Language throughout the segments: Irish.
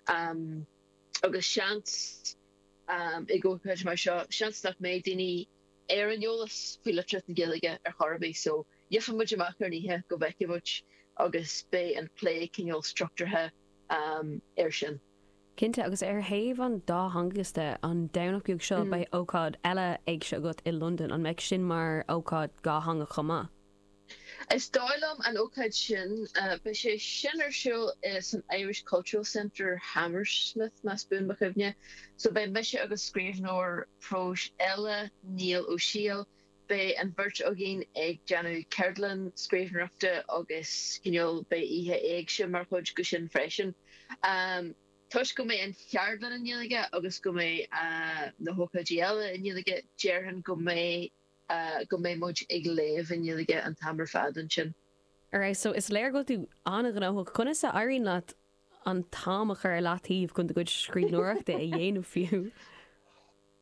Agus seans, ag ócáid mar seo, seans nach mbeidh daoine ar an eolas faoi litríocht na Gaeilge ar chor ar bith so gheobhaidh muid amach ar an oíche go bhfeicfidh muid agus beidh an plé cineál struchtúrtha air sin. Cinnte, agus ar thaobh an dátheangachais de, an Domhnach beag seo beidh ócáid eile éigse agat i Londain, an mbeidh sin mar ócáid dhátheangach chomh maith? Is dóigh liom an ócáid sin, beidh sé sin ar siúl san Irish Cultural Centre, Hammersmith, más buan mo chuimhne. So beidh mise agus scríbhneoir próis eile, Niall Ó Siadhail, beidh an bheirt againn ag déanamh ceardlann scríbhneoireachta agus cineál beidh oíche éigse mar chuid de sin freisin. Toisc go mbeidh an cheardlann i nGaeilge agus go mbeidh na hócáidí eile i nGaeilge, déarfainn go mbeidh go mbeidh muid ag léamh i nGaeilge an t-am ar fad ansin. Alright, so is léir go bhfuil tú an-ghnóthach. Conas a éiríonn leat an t-am a chur ar leataobh chun do chuid scríbhneoireachta a dhéanamh fiú?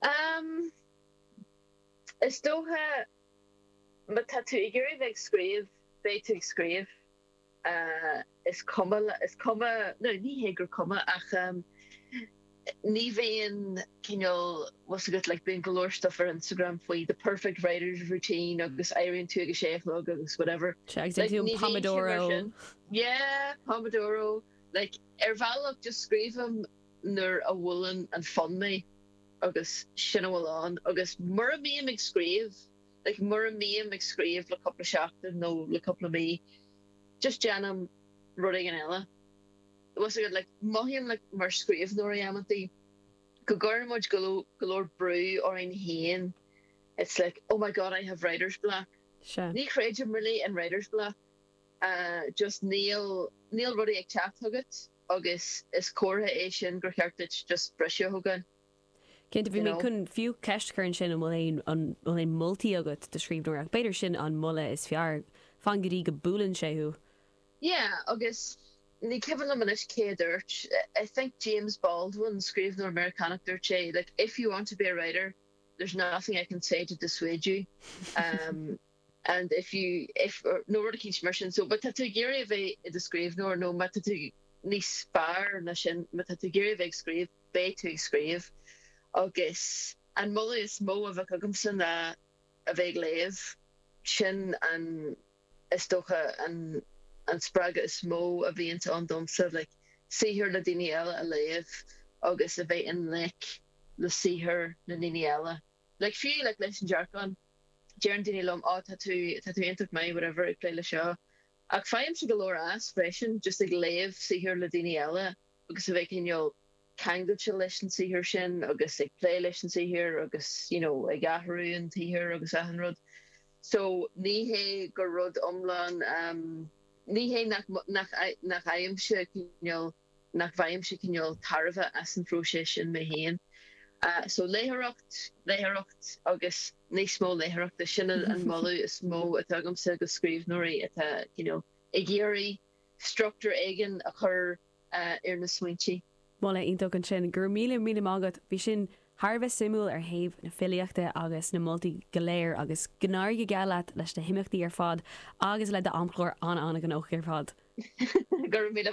Um, is dócha má tá tú ag iarraidh bheith ag scríobh, beidh tú ag scríobh. Is cuma, is cuma, nó ní hé gur cuma ach ní bhíonn cineál, bhfuil 's agat, like bíonn go leor stuff ar Instagram faoi the perfect writer's routine agus éiríonn tú ag a sé a chlog agus whatever. Sea, agus déanann tú an Pomodoro. Yeah, Pomodoro. Like ar bhealach just scríobhaim nuair a bhuaileann an fonn mé agus sin a bhfuil ann agus mura mbím ag scríobh, like mura mbím ag scríobh le cúpla seachtain nó le cúpla mí, just déanaim rud éigin eile. Bhfuil 's agat, like mothaím like mar scríbhneoirí amantaí go gcuireann muid go leor go leor brú orainn féin, it's like oh my god I have writer's block. Sea. Ní chreidim really in writer's block, just níl níl rudaí ag teacht chugat agus is comhartha é sin gur cheart duit just briseadh a thógáil. Cinnte, bhí mé chun fiú ceist a chur ansin an bhfuil aon, an bhfuil aon moltaí agat do scríbhneoirí ach b'fhéidir sin an moladh is fearr, fan go dtí go buaileann sé thú. Yeah, agus ní cuimhin liom anois cé a dúirt, I think James Baldwin, scríbhneoir Meiriceánach, dúirt sé like if you want to be a writer, there's nothing I can say to dissuade you. Um, and if you, if, nó rud eicínt mar sin, so má tá tú ag iarraidh a bheith i do scríbhneoir nó má tá tú níos fearr ná sin, má tá tú ag iarraidh a bheith ag scríobh, beidh tú ag scríobh. Agus an moladh is mó a bheadh agamsa ná a bheith ag léamh. Sin an, is dócha, an an spreagadh is mó a bhíonns ann domsa, like saothar le daoine eile a léamh agus a bheith i ngleic le saothar na ndaoine eile. Like fiú like leis an Dearcán, deireann daoine liom, oh tá tú, tá tú iontach maith whatever ag plé le seo. Ach faighimse go leor as freisin, just ag léamh saothar le daoine eile. agus a bheith cineál ceangailte leis an saothar sin agus ag plé leis an saothar agus you know ag athrú an tsaothair agus achan rud. So ní hé gur rud iomlán ehm ní hé nach nach nach bhfaighimse cineál nach bhfaighimse cineál tairbhe as an phróiseas sin mé féin. So léitheoireacht, léitheoireacht agus níos mó léitheoireachta, sin an moladh is mó atá agamsa do scríbhneoirí atá cineál ag iarraidh struchtúr éigin a chur ar na smaointe. Moladh iontach ansin. Go raibh míle míle maith agat. Bhí sin thar a bheith suimiúil ar thaobh na filíochta agus na moltaí go léir agus go n-éirí go geal leat leis na himeachtaí ar fad agus le d'amchlár an-an-ghnóthach ar fad. Go raibh míle.